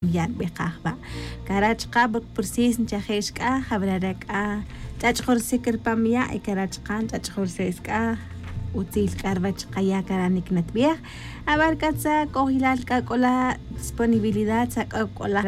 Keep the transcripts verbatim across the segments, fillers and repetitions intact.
Ya' nbij qa jba'. Cara' chaqa' porque pursis nchajix k'a jab'ra re' k'a ch'ach'jursi' k'a ripam ya' y cara' chaqa' nch'ach'jursi' k'a utzil k'a rwach qaya' cara' nik natb'ij. Ab'ar k'a tza k'ojilal k'a k'ola disponibilidad tza k'a k'ola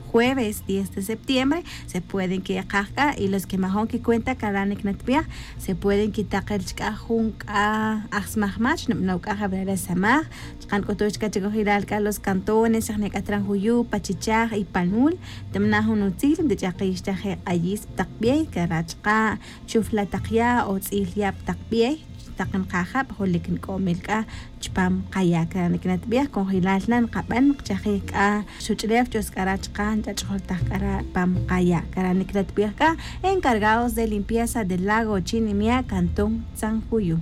jueves diez de septiembre se pueden kiqaj k'a y los que majon kicuenta cara' nik natb'ij se pueden kitaqil chk'a jun k'a aj smajmach nab'anow k'a jab'ra re' samaj. Chqan k'utuy chka chikojilal k'a los cantones xajne' k'a tran juyu' pachichaj y panul. Ntamna' jun utzil ntich'aqix chaje' q'ayis pi taq b'ey cara' chqa' chufla taq ya' o tz'il ya' pi taq b'ey. Taq nqajab' julik nk'omil k'a chpam qaya' cara' nik natb'ij kojilal na nqab'an nqchajij k'a xuch'lew ch'us k'ara' chqa' nch'ach'jul taj k'ara' pam qaya' cara' nik natb'ij k'a encargados de limpieza del lago chinimia' cantón tzan juyu'.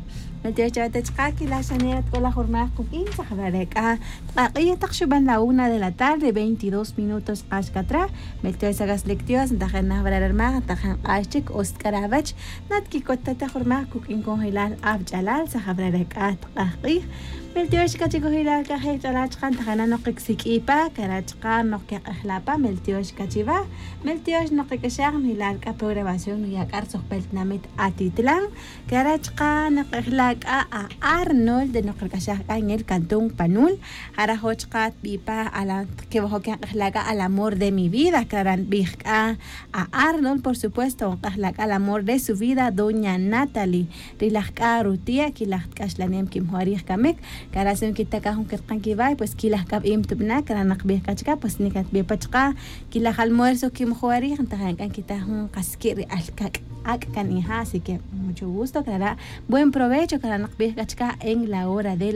Meltiox chawete chqa' kilaxanera tk'ola jurmaj quk'in tzajab'ra re' k'a tq'aq'ij taq xuban la una de la tarde veintidós minutos q'ax katra. Meltiox sagas lectios ntajen najb'ra re' rmaj ntajen q'ax chik os tk'ara' wech. Natkikot tata jurmaj kuk'in konjelal ab'ch'alal tzajab'ra re' k'a tq'aq'ij. Meltiox k'a chikojilal k'a jejch'alal chqa' ntajen na noq ksik'ipa cara' chqa' noq keq'ejla' pa meltiox k'a chiwa. Meltiox noq k'axaj njelal k'a programación nuya' k'a rtzojb'el tinamit atitlan. Cara' chqa' naq'ejla' k'a a arnold noq rk'axaj k'a en el cantón panul. Jara' joch qa tb'i' pa ala kewajo' kenq'ejla' k'a al amor de mi vida cara' nb'ij k'a a arnold por supuesto nq'ejla' k'a al amor de su vida doña natalie. Rilaj k'a rutia' kilaj tk'axlanem kimjo' arij kamik. Cara' si nkitakaj jun kirqan kiway pues kilaj k'a b'im tub'na' cara' naqb'ij k'a chka' pues nik atb'ij pa chqa' kilaj almuerzo kimjo' arij ntajen k'a nkitaj jun qaski' ri alkak' ak' kan ija' así que mucho gusto cara' buen provecho cara' naqb'ij k'a chka' en la hora de la